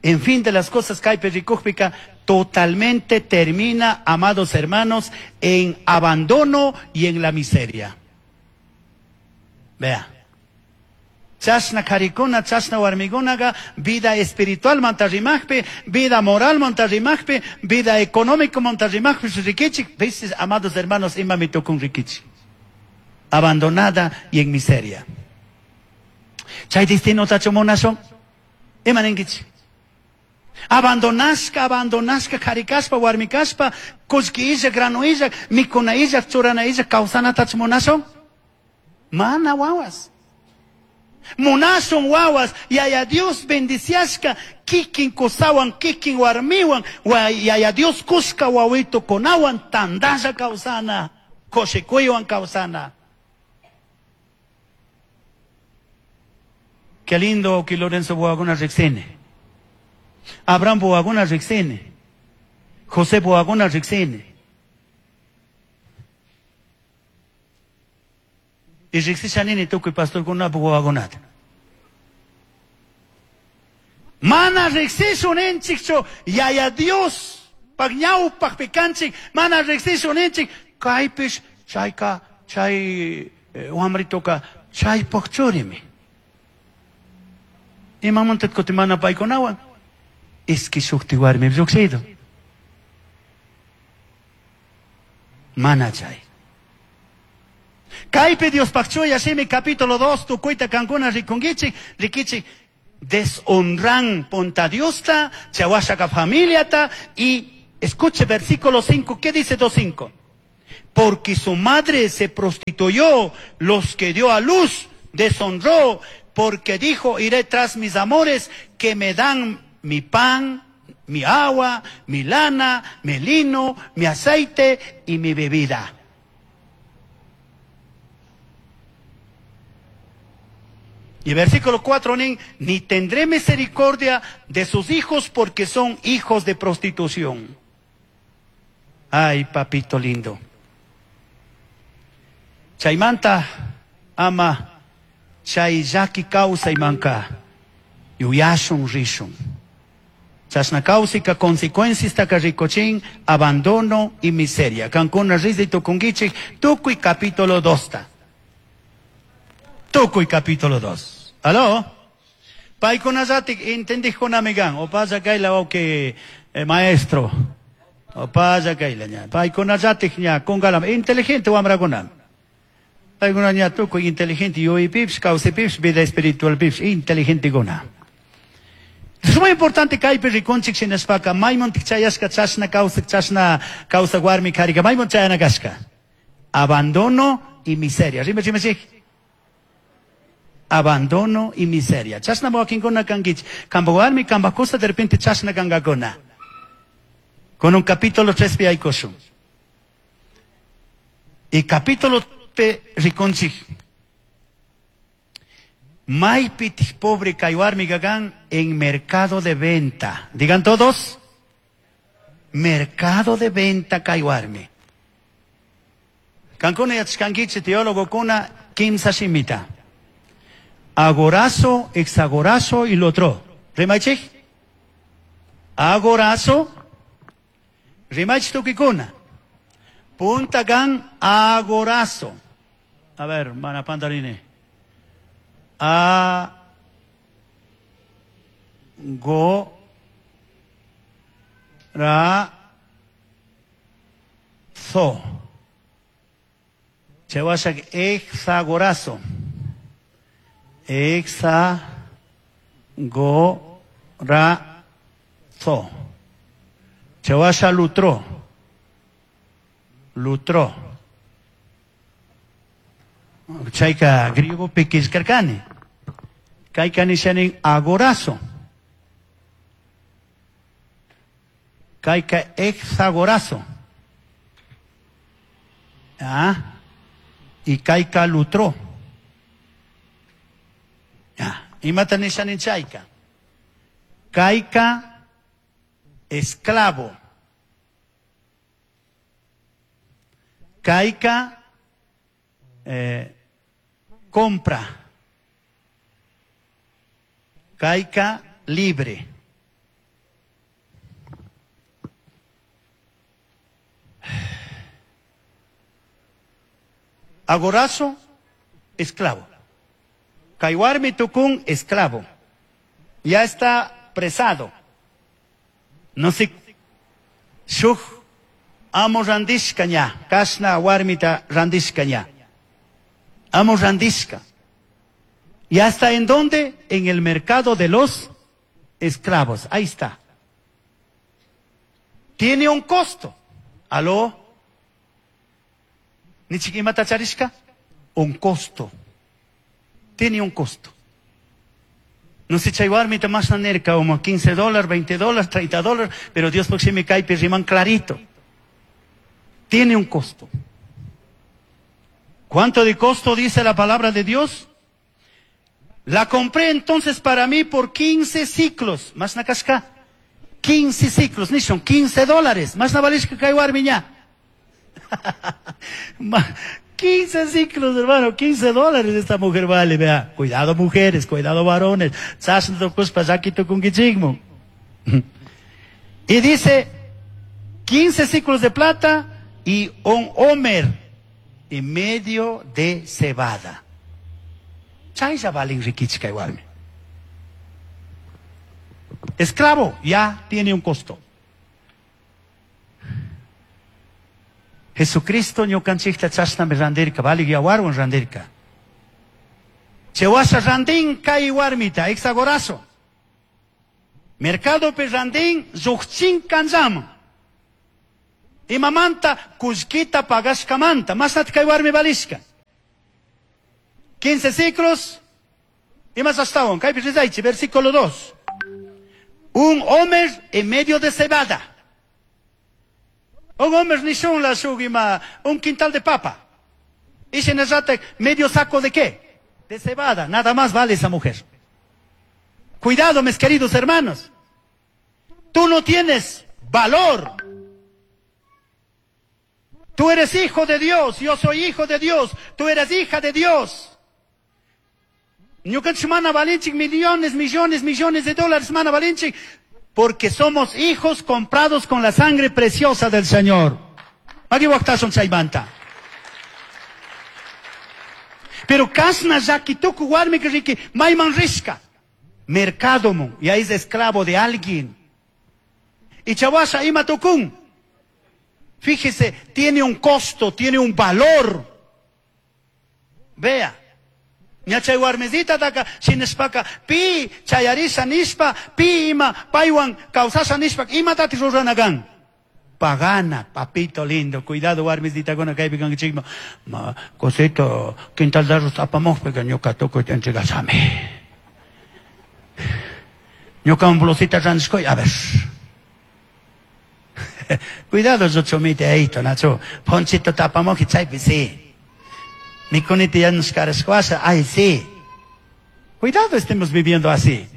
En fin de las cosas, kaypi rikuqpika totalmente termina, amados hermanos, en abandono y en la miseria. Vea. Chashna karikuna, chashna warmikunaqa, vida espiritual mantarrimaqpi, vida moral mantarrimaqpi, vida económico mantarrimaqpi, rikichik, veces, amados hermanos, imami tukun rikichik. Abandonada y en miseria. Chay destino tachu munashun, ima ninkichik. Abandonashka, abandonashka, karikashpa, warmikashpa, kullki illak, grano illak, mikuna illak, churana illak, kawsanatachu munashun? Mana wawas. Munasun wawas, yaya Dios bendiciashka, kikin kusawan, kikin warmiwan, yaya Dios kuska wawito kunawan, tandalla kawsana, kushikuywan kawsana. Qué lindo que Lorenzo Boaguna rexene. Abraham Boaguna rexene. José Boaguna rexene. Y riqsishanini tukuy pastorkuna wawakunata. Mana riqsisuninchikchu yaya Dios paq ñawpaqpi kanchik, mana riqsisuninchik kaypish chayka chay wamrituka chaypaq churimi. Imamanta kutin mana paykunawan iski shukti warmi lluqshido. Mana chay. Kaypi Diospaq chuya shimi capítulo dos tukuyta kankuna rikunkichik, rikichik, deshonran punta Diosta, chawashaka familiata y escuche versículo cinco, ¿qué dice dos cinco? Porque su madre se prostituyó, los que dio a luz deshonró, porque dijo, iré tras mis amores que me dan mi pan, mi agua, mi lana, mi lino, mi aceite y mi bebida. Y versículo cuatro, ni, ni tendré misericordia de sus hijos porque son hijos de prostitución. Ay, papito lindo. Chaymanta ama chay llaki kawsaymanka yuyashun rishun. Chashna kawsayka consecuenciastaka rikuchin abandono y miseria. Kankuna risay tukunkichik tukuy capítulo dosta. Tukuy capítulo dos. ¿Aló? Paykunallatik entendijkunami kan. Opalla kayla wawqi eh, maestro. Opalla kayla ña. Paykunallatik ña kungalama inteligente wamrakunami. Paykuna ña tukuy inteligente yuyaypipish, kawsaypipish, vida espiritualpipish inteligentekuna. Es muy importante kaypi rikunchik shinashpaka maymantik chayashka chashna kawsak chashna kawsak warmi karika mayman chayana kashka. Abandono y miseria. Rima rima chik. Abandono y miseria. Chashna wakinkuna kankichik. Kamba warmi kamba kusa de repente chashna kankakuna. Con un capítulo tres pi aykushun. Y capítulo pe rikunchik. Maypitik pobre kay warmi gagan en mercado de venta. Digan todos. Mercado de venta kay warmi. Kankuna yachkankichik teólogo kuna kimsa shimita. Agorazo, exagorazo y lo otro. Rimaychik. Agorazo. Rimaychik tukikuna. Punta gan agorazo. A ver, mana pandaline. A go ra zo. Chewashak exagorazo. Exa go ra zo. Chewasha lutro. Lutro. Chayka griego pikishkarkani. Kayka nishanin agorazo. Kayka exagorazo. Ah, y kayka lutro. Ah, imata nishanin chayka. Kayka esclavo. Kayka eh, compra. Kayka libre. Agorazo, esclavo. Kaywarmi tukun, esclavo. Ya está presado. No sé. Shuk amo randishka ña. Kashna warmita randishka ña. Amo randishka. ¿Ya está en dónde? En el mercado de los esclavos. Ahí está. Tiene un costo. ¿Aló? ¿Nichikimata charishka? Un costo. Tiene un costo. No sé, chay warmita más nerca, como quince dólares, veinte dólares, treinta dólares, pero Dios por si me cae, riman clarito. Tiene un costo. ¿Cuánto de costo dice la palabra de Dios? La compré entonces para mí por quince ciclos. Más na casca. quince ciclos, ni son quince dólares. Más na valishka kay warmi ña. quince ciclos, hermano, quince dólares esta mujer vale, vea. Cuidado mujeres, cuidado varones. Y dice, quince ciclos de plata y un homer y medio de cebada. Chaylla valen rikichka igual. Esclavo ya tiene un costo. Jesucristo ñukanchikta chashnami randirka, valik yawarwan randirka. Chewasha randin kay warmita, exagorazo. Mercadopi randin lluqchin kanllaman. Imamanta kullkita pagashkamanta, mashnata kay warmi valishka. quince ciclos y más hasta kaypi rizaychi, versículo dos. Un homer en medio de cebada. Un homer nishun la shugima, un quintal de papa. Y se medio saco de qué? De cebada. Nada más vale esa mujer. Cuidado, mis queridos hermanos. Tú no tienes valor. Tú eres hijo de Dios. Yo soy hijo de Dios. Tú eres hija de Dios. Ñukanchik mana valinchik millones, millones, millones de dólares mana valinchik, porque somos hijos comprados con la sangre preciosa del Señor. Aquí waqtasun chaymanta. Pero kasna llaki tuku warmi riki mayman rishka. Mercadomun, y ahí es esclavo de alguien. Y chawasha ima tukun. Fíjese, tiene un costo, tiene un valor. Vea. Ña chay warmisita taka shinashpaka pi chayarisha nishpa pi ima paywan kawsasha nishpa imatati rurana kan. Pagana, papito lindo, cuidado warmisitakuna kaypi kankichikman. Ma cosito quintal de arroz apamujpika ñuka tukuyta entregashami. Ñuka blusita randishkuy, a ver. Cuidado chumite eito, nacho. Ponchito tapamuji chaypi sí. Mikuniti yanushkarashkuasha, ay sí. Cuidado, estemos viviendo así.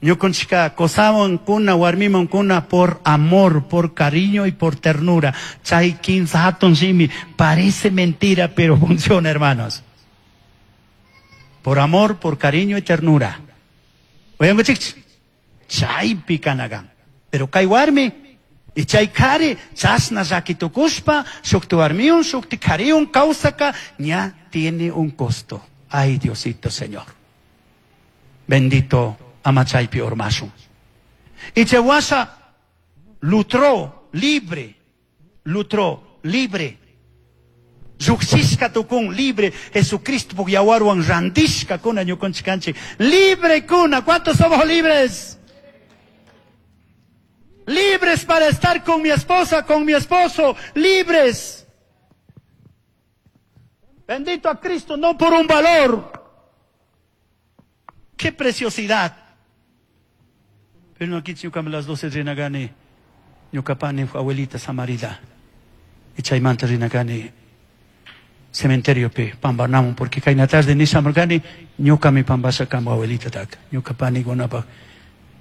Ñukunchika qosawan kuna warmiman kuna por amor, por cariño y por ternura. Chay kinsa hatun shimi. Parece mentira, pero funciona, hermanos. Por amor, por cariño y ternura. Oyanguchik, chaypi kanagan. Pero kay warmi y chay kari chasna llakitukushpa shukti warmiun shukti kariun kawsaka ña tiene un costo. Ay, Diosito Señor. Bendito ama chaypi urmashun. Y chawasha lutró libre, lutró libre. Lluqshishka tukun libre. Jesucristo puk yawarwan randishka kuna ñukanchik. Libre kuna. ¿Cuántos somos libres? Libres para estar con mi esposa, con mi esposo. Libres. Bendito a Cristo, no por un valor. ¡Qué preciosidad! Pero no aquí ñukami las doce rinagani, ñukapani abuelita samarida. Y chaymanta rinagani cementerio pi pambanamun, porque kayna tarde nishamurkani ñukami pambasha kama abuelita tak. Ñukapani gunapa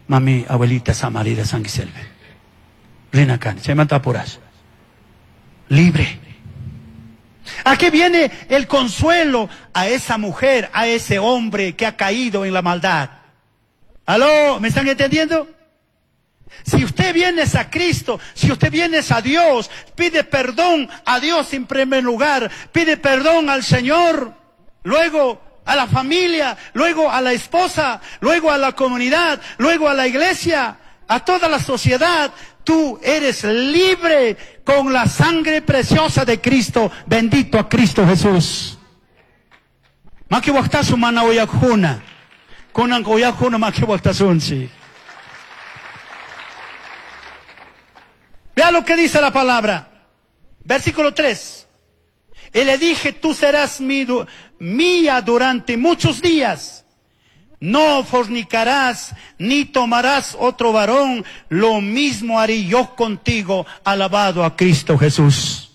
mami abuelita samarida sanguiselve. Rinakani, chaymanta apuras. Libre. ¿A qué viene el consuelo a esa mujer, a ese hombre que ha caído en la maldad? ¿Aló? ¿Me están entendiendo? Si usted viene a Cristo, si usted viene a Dios, pide perdón a Dios en primer lugar, pide perdón al Señor, luego a la familia, luego a la esposa, luego a la comunidad, luego a la iglesia, a toda la sociedad. Tú eres libre con la sangre preciosa de Cristo. Bendito a Cristo Jesús. Maki waqtasun mana uyaqjuna. Kunan uyaqjuna maki waqtasunchik. Vea lo que dice la palabra. Versículo tres. Y le dije, tú serás mi, mía durante muchos días. No fornicarás, ni tomarás otro varón. Lo mismo haré yo contigo. Alabado a Cristo Jesús.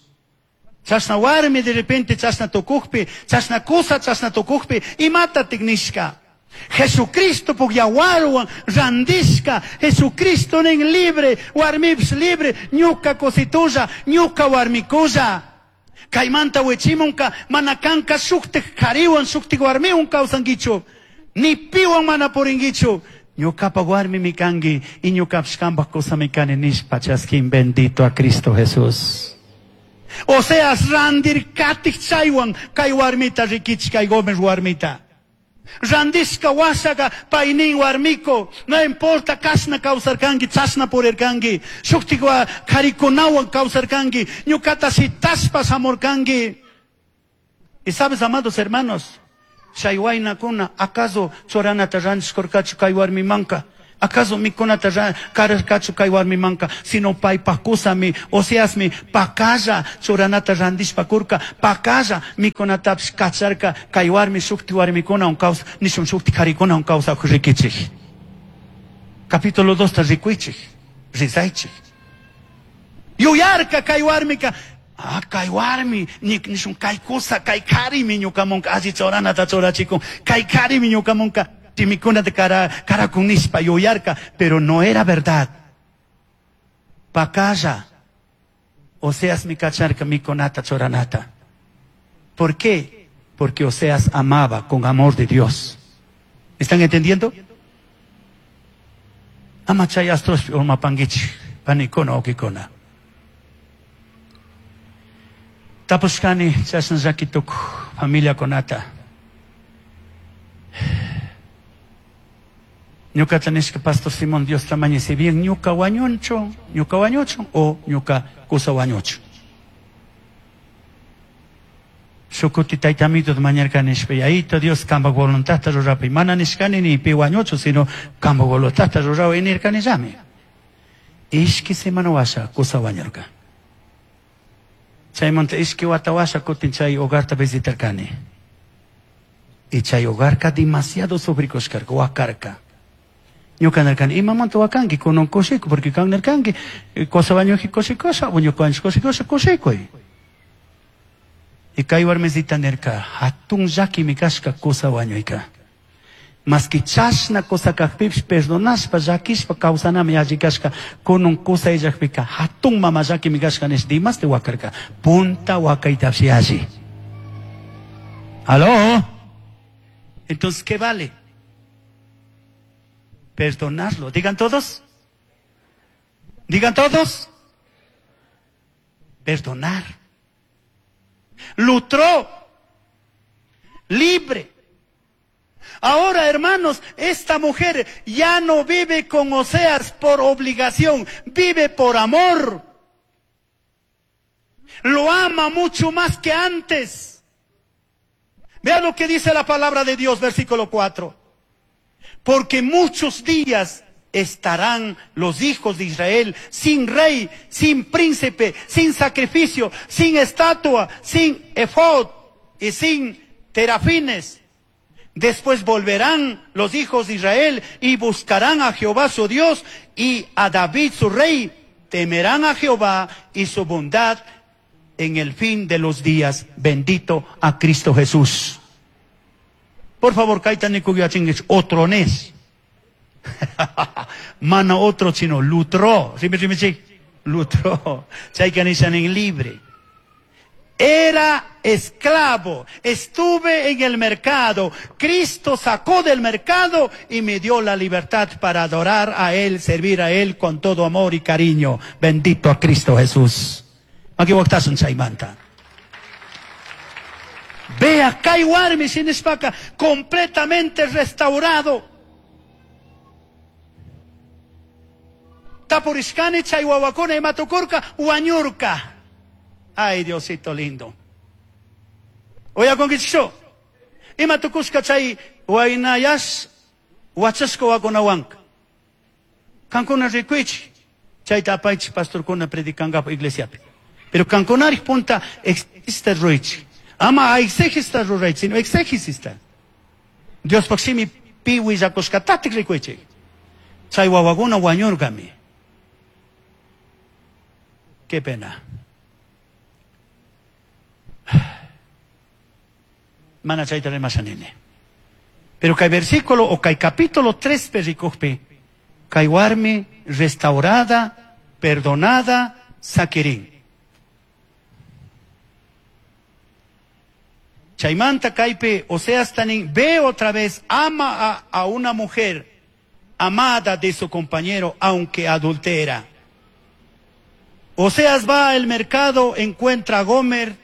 Chasna warmi de repente, chasna tukujpi, chasna kusa, chasna tukujpi, imata tignishka. Jesucristo puk yawarwan randishka. Jesucristo nin libre, warmips libre, ñuka cositulla, ñuka warmikulla. Kaymanta wichimunka, manakanka shuktik kariwan, shuktik warmiwan kawsankichu. Ni piwan mana purinkichu. Ñukapa warmi mi kanki y ñukapish kanpak kusa mi kani nishpa chaskin. Bendito a Cristo Jesús. O sea, randir katik chaywan kay warmita rikichik kay Gómez warmita. Randishka washaga paynin warmiko, no importa kashna kawsarkanki, chashna purirkanki, shuktikwa karikunawan kawsarkanki, ñukata shitashpa shamurkanki. Y sabes, amados hermanos, chay waynakuna, acaso churanata randishkurkachu kay warmimanka? ¿Acaso mikunata kararkachu kay warmimanka? Sino paypaj kusami, Oseasmi, pakalla churanata randishpa kurka, pakalla mikunatapish kacharka, kay warmi shukti warmikunawan kawsa, nishun shukti karikunawan kawsakuj rikichik. Capítulo dos ta rikuychik, rizaychik. Yuyarka kay warmika, ah, kay warmi, nishun kay kusa, kay karimi ñukamunka, alli churanata churachikun, kay karimi ñukamunka. Timikuna de cara, cara yuyarka, pero no era verdad. Pakalla, Oseas mi kacharka mikonata choranata. ¿Por qué? Porque Oseas amaba con amor de Dios. ¿Están entendiendo? Ama chay astrospi urmapanguichik, panikuna ukikuna. Tapushkani chashna llaki tukuj familiakunata. Ñuka nishka Pastor Simón Dios tamaño si bien ñuka wañunchu, ñuka wañuchun o ñuka kusa wañuchu. Shukuti taytamito mañarka nishpa yayito Dios kamba voluntadta rurapi mana nishkani ni pi wañuchu sino kamba voluntadta rurawi nirkani llami. Ishki semana washa kusa wañurka. Chaymanta ishki wata washa kutin chay hogarta visitarkani. Y chay hogarka demasiado sufrikushkarka wakarka. Ñuka nirkani imamanta wakanki kunan kushikuy porque kan nirkanki kusa wañuji kushikosha ñuka wañush kushikosha kushikuy. Y kay warmisita nirka hatun llakimi kashka kusa wañuyka. Maski chashna kusa kajpipish perdonashpa llakishpa kawsanami alli kashka kunan kusa illakpika hatun mama llakimi kashka nish dimasti wakarka punta wakaytapish alli. ¿Aló? Entonces, ¿qué vale? Perdonarlo. Digan todos. Digan todos. Perdonar. Lutró. Libre. Ahora, hermanos, esta mujer ya no vive con Oseas por obligación, vive por amor. Lo ama mucho más que antes. Vean lo que dice la palabra de Dios, versículo cuatro. Porque muchos días estarán los hijos de Israel sin rey, sin príncipe, sin sacrificio, sin estatua, sin efod y sin terafines. Después volverán los hijos de Israel y buscarán a Jehová su Dios y a David su rey. Temerán a Jehová y su bondad en el fin de los días. Bendito a Cristo Jesús. Por favor, kaita nikuyachinguich otro nes. Mana otro chino, lutro. Lutro. Chayka nishanin libre. Era esclavo, estuve en el mercado, Cristo sacó del mercado y me dio la libertad para adorar a Él, servir a Él con todo amor y cariño. Bendito a Cristo Jesús. Vea, kay warmi shinishpaka, completamente restaurado. Tapurishkani chay wawakuna imatukurka, wañurka. Ay, Diosito lindo. Oya conquichicho. Imatukushka chay waynayash wachashka wakunawanka. Kankuna rikuichi. Chayta apaychi pastorkuna predikangapo iglesiapi. Pero kankunari punta exista ruichi. Ama exegista ruraychi, sino exegisista. Dios paximi pi willakushkatatik rikuichi. Chay wawakuna wañurkami. Qué pena. Mana chayta rimashanini. Pero kay versículo o kay capítulo tres perikujpi, kay warmi restaurada, perdonada, sakirin. Chaymanta kaypi Oseas tanin ve otra vez, ama a, a una mujer amada de su compañero, aunque adultera. Oseas va al mercado, encuentra a Gomer,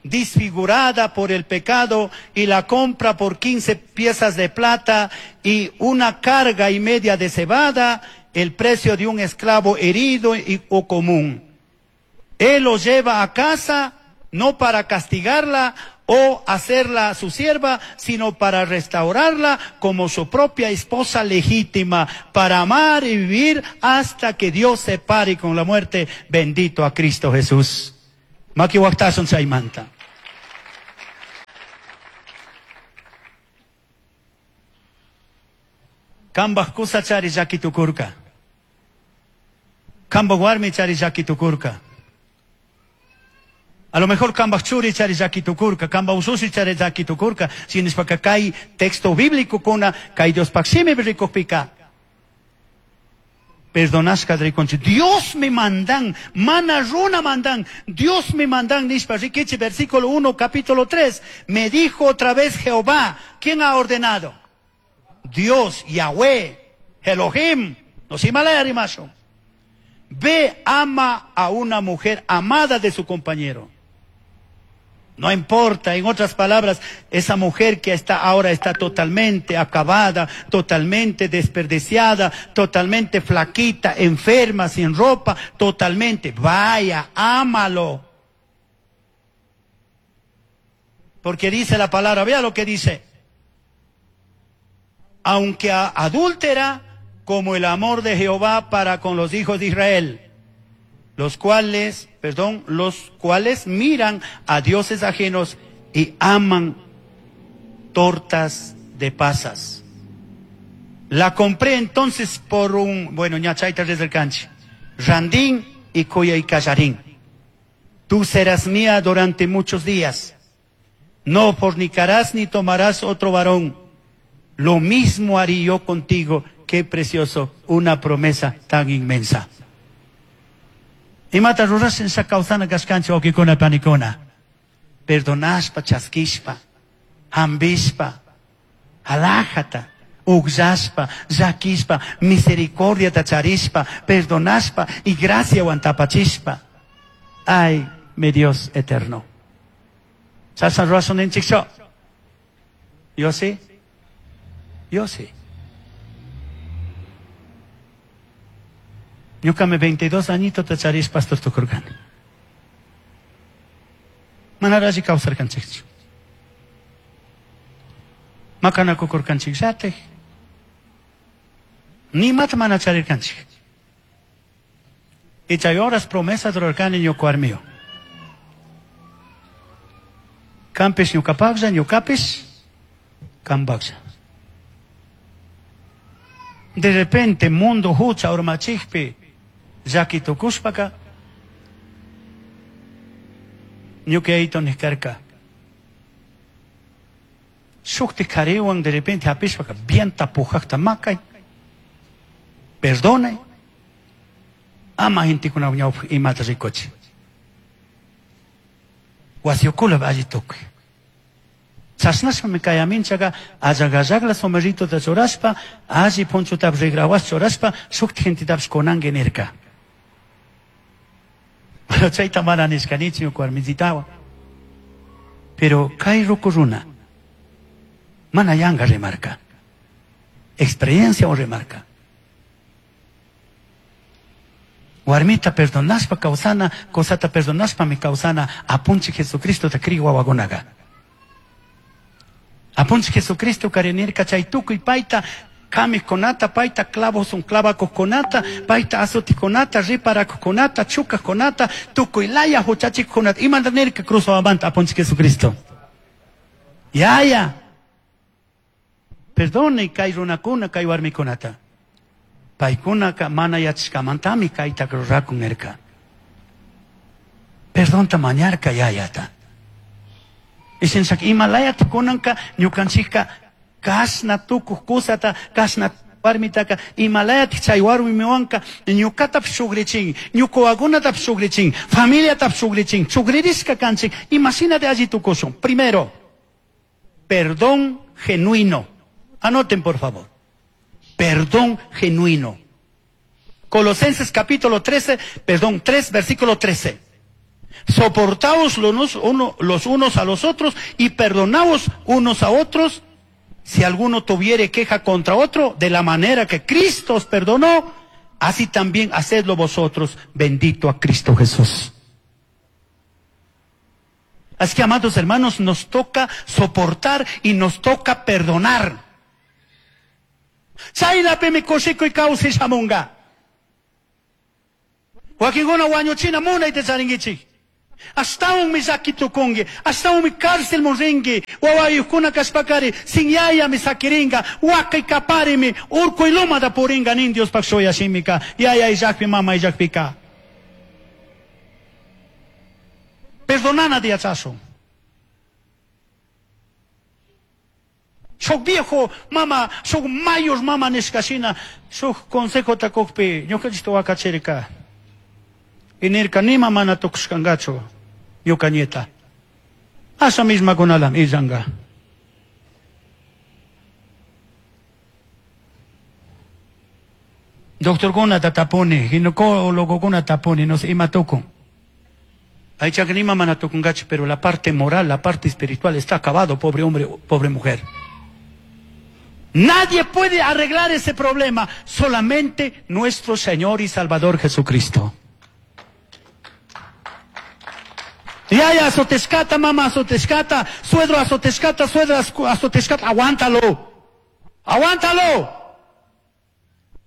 disfigurada por el pecado, y la compra por quince piezas de plata y una carga y media de cebada, el precio de un esclavo herido y, o común. Él lo lleva a casa, no para castigarla o hacerla su sierva, sino para restaurarla como su propia esposa legítima, para amar y vivir hasta que Dios separe con la muerte. Bendito a Cristo Jesús. Maki waqtasun chaymanta. Kambaj kusa chari llaki tukurka. Kambaj warmi chari llaki tukurka. A lo mejor kambaj churi chari llaki tukurka, kambaj usushi chari llaki tukurka. Shinishpaka kay texto bíblico kuna kay Diospaj shimi rikukpika. Perdonashka rikunchik. Dios me mandan, mana runa mandan, Dios me mandan nishpa rikichi, versículo uno, capítulo tres. Me dijo otra vez Jehová, ¿quién ha ordenado? Dios, Yahweh, Elohim, nos Himalaya rimasho. Ve, ama a una mujer amada de su compañero. No importa, en otras palabras, esa mujer que está ahora está totalmente acabada, totalmente desperdiciada, totalmente flaquita, enferma, sin ropa, totalmente. Vaya, ámalo. Porque dice la palabra, vea lo que dice. Aunque adúltera, como el amor de Jehová para con los hijos de Israel, los cuales, perdón, los cuales miran a dioses ajenos y aman tortas de pasas. La compré entonces por un, bueno, ñachaita desde el canche, Randín y Coya y Callarín. Tú serás mía durante muchos días. No fornicarás ni tomarás otro varón. Lo mismo haré yo contigo. Qué precioso, una promesa tan inmensa. Imata rurashin shakausana kashkanchik wawqikuna panikuna. Perdonashpa, chaskishpa, hambishpa, alajata, ugllashpa, llakishpa, misericordiata charishpa, perdonashpa y graciawan tapachishpa. Ay, mi Dios eterno. Chashna rurashun ninchikchu. Yo sí. Yo sí. Ñuqami veintidós añito tacharis pastor tukurqani. Manarashi kawsarqanchikchu. Maqanakukurqanchikllatik. Nimata mana charirqanchik. Y chay horas promesas rurarqani ñuqa warmiwan. Qampis ñuqapaqlla, ñuqapis qampaqlla. De repente mundo hucha urmachikpi llaki tukushpaka ñuqayto niskarka. Shukti qhariwan de repente hapishpaka bien tapujaqta maqay, perdonay, ama gentekuna ñawpaq imata rikuchi. Wasiukula alli tukuy. Chashnashpami kay aminchaqa allaqallaqla somerritota churashpa, alli punchutapish rigrawas churashpa, shukti gentetapish kunanki nirka. Pero chayta mana nishkanichu ñuka warmisitawan. Pero kay ruku runa mana yanqa rimarka. Experiencia o rimarka. Warmita perdonashpa kawsana, cosata perdonashpami kawsana, apunchik Jesucristota kriy wawakunaqa. Apunchik Jesucristo karinirka chay tukuy payta kamiqkunata, payta clavos clavakuqkunata, payta azutiqkunata, riparakuqkunata, chukaqkunata, tukuy laya huchachiqkunata. Imanta nirka cruz wawamanta apunchik Jesucristo. Yaya, perdone kay runakuna, kay warmikunata. Paykunaka mana yachashkamantami kayta rurakun nirka. Perdonta mañarka yayata. Ishinshak ima layata kunanka ñukanchikka kashna tukuq kusata, kashna warmitaka, ima layata chay warmiwanka ñuqatapish shugrichin, ñuqa wawakunatapish shugrichin, familiatapish shugrichin, shugririshka kanchik, imashinata alli tukushun. Primero, perdón genuino. Anoten por favor. Perdón genuino. Colosenses capítulo trece, perdón, tres, versículo trece. Soportaos los, uno, los unos a los otros y perdonaos unos a otros. Si alguno tuviere queja contra otro, de la manera que Cristo os perdonó, así también hacedlo vosotros. Bendito a Cristo Jesús. Así que, amados hermanos, nos toca soportar y nos toca perdonar. Chaynapimi kushikuy kawsay shamunga. Wakinkuna wañuchina munayta charinkichik. Ashtawanmi llaki tukunki, ashtawanmi cárcelman rinki, wawayuqkuna kashpakari, sin yayami sakirinka, wakay kaparimi, urkuy lumata purinka nin Diospaq shuyashimika, yaya illakpi mama illakpika. Perdonana yachashun. Shuk viejo mama, shuk mayor mama nishkashina, shuk consejota kukpi, ñukanchikta wakachirka. Y nirka nima mana tukushkankachu ñuka nieta. Asha mismakunalam illanka. Doctorkunata tapuni, ginecólogokuna tapuni, no sé, ima tukun. Aychaka nima mana tukunkachu, pero la parte moral, la parte espiritual está acabado, pobre hombre, pobre mujer. Nadie puede arreglar ese problema, solamente nuestro Señor y Salvador Jesucristo. Yaya azotescata, mamá azotescata, suegro azotescata, suegra azotescata, aguántalo, aguántalo.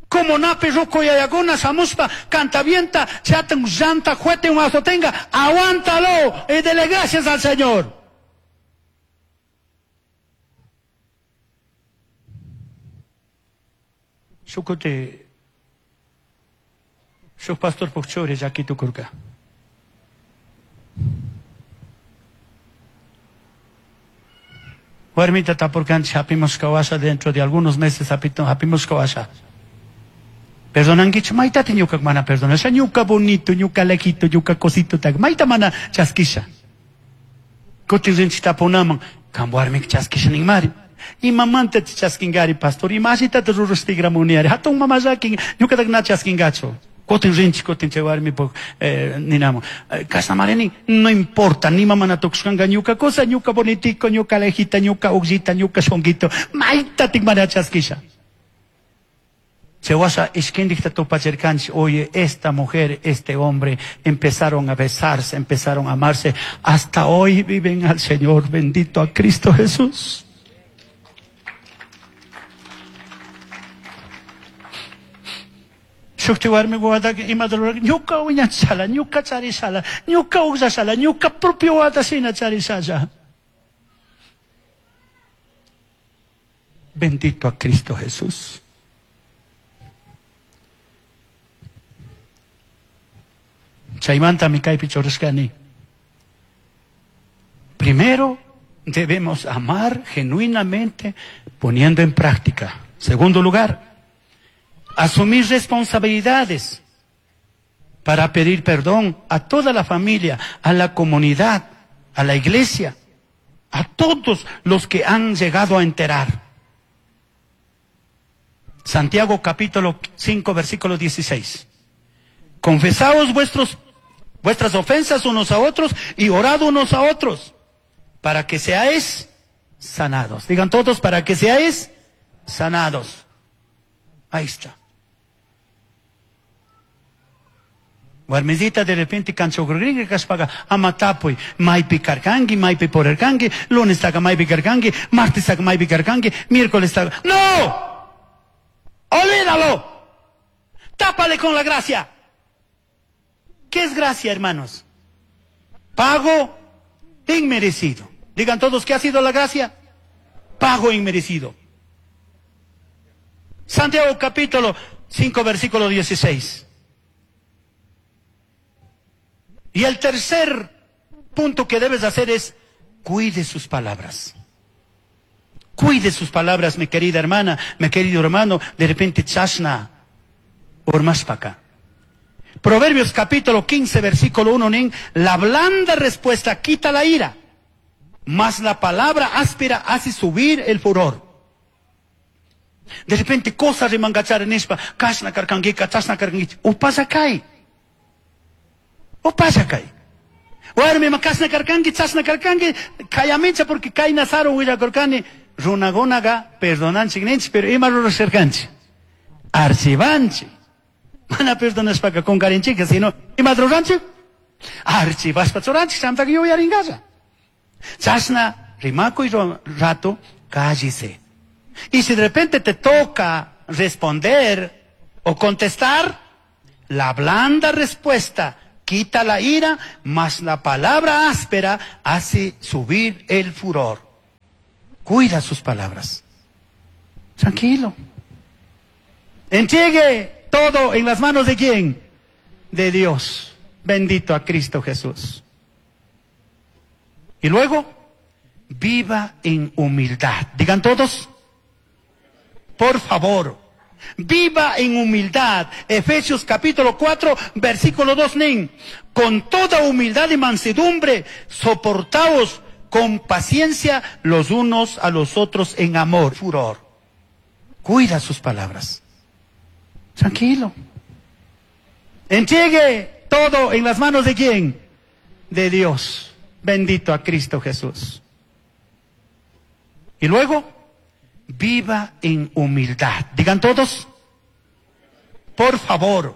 Como nape roco yayaguna, samuspa, cantavienta, chatan, llanta, juete, un azotenga, aguántalo y dele gracias al Señor. Shukute, shuk pastor pukchuri, llaki tukurka. Warmita tapurkanchik hapimos kawasha dentro de algunos meses hapimos kawasha. Perdonankichu maytata ñuka mana perdonasha, ñuka bonito, ñuka lejito, ñuka cosito, tak mayta mana chaskisha. Kutin rinchik tapunaman, kan warmika chaskisha ninmari. Imamanta chaskinkari pastor, imashitata rurashtigramuniari, hatun mama llakin, ñukatak na chaskinkachu. Kutin rinchik, kutin chay warmipuk eh, ninamun. Kashnamari no importa, ni mamá na tukushkanka ñuka cosa, ñuka bonitico, ñuka lejita, ñuka ullita, ñuka shonguito, maytatik mana chaskisha. Chewasha ishkindikta tupachirkanchik, oye, esta mujer, este hombre, empezaron a besarse, empezaron a amarse, hasta hoy viven al Señor, bendito a Cristo Jesús. Shukti warmi wawataka imata rurarka, ñuka wiñachishala, ñuka charishala, ñuka uqllashala, ñuka propio wawata shina charishalla. Bendito a Cristo Jesús. Chaymantami kaypi churashkani. Primero debemos amar genuinamente poniendo en práctica. Segundo lugar, asumir responsabilidades para pedir perdón a toda la familia, a la comunidad, a la iglesia, a todos los que han llegado a enterar. Santiago capítulo cinco, versículo dieciséis. Confesaos vuestros, vuestras ofensas unos a otros y orad unos a otros para que seáis sanados. Digan todos, para que seáis sanados. Ahí está. Warmizita de repente kanchogringa kashpaga amatapuy maypi karkanki, maypi purerkanki, lunes taka maypi karkanki, martes taka maypi karkanki, miércoles taka. ¡No! ¡Olvídalo! ¡Tápale con la gracia! ¿Qué es gracia, hermanos? Pago inmerecido. Digan todos, ¿qué ha sido la gracia? Pago inmerecido. Santiago capítulo cinco, versículo dieciséis. Y el tercer punto que debes hacer es, cuide sus palabras. Cuide sus palabras, mi querida hermana, mi querido hermano. De repente, chashna, por más pa' acá. Proverbios capítulo quince, versículo uno, nin, la blanda respuesta quita la ira, mas la palabra áspera hace subir el furor. De repente, cosas rimangachar nishpa, kashna karkangi, kachashna karkangi, upasa kai. Upasa kai. Warmi ma kashna karkanki, chashna karkanki, kayamicha porque kayna sarun willakurkani, runakunaqa perdonanchik ninchik, pero ima rurashkarkanchik? Archivanchik. Mana perdonashpaka kunkarinchik, sino ima ruranchik? Archivashpa churanchik, chaymantaqa yuyarinkalla. Chashna rimakuy rato, cállese. Y si de repente te toca responder o contestar, la blanda respuesta quita la ira, mas la palabra áspera hace subir el furor. Cuida sus palabras. Tranquilo. Entregue todo en las manos de quién? De Dios. Bendito a Cristo Jesús. Y luego, viva en humildad. Digan todos, por favor, viva en humildad. Efesios capítulo cuatro, versículo dos, nin. Con toda humildad y mansedumbre, soportaos con paciencia los unos a los otros en amor. Furor. Cuida sus palabras. Tranquilo. Entregue todo en las manos de quién? De Dios. Bendito a Cristo Jesús. Y luego, viva en humildad. Digan todos, por favor.